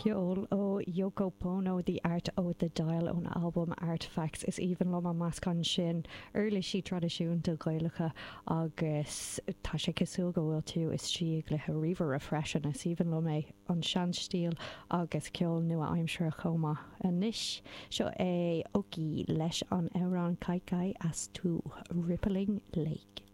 Ceol ó Yoko Pono, The Art o' the Dial ón albam Artefacts. Is aoibhinn liom an meascán sin uirlisí traidisiúnta Gaelacha agus tá sé cosúil go bhfuil tú istigh i gcluiche ríomhaire freisin. Is aoibhinn liom é, an seanstíl agus ceol nua-aimseartha chomh maith. Anois, seo é Oki leis an amhrán Kai Kai as To Rippling Lake.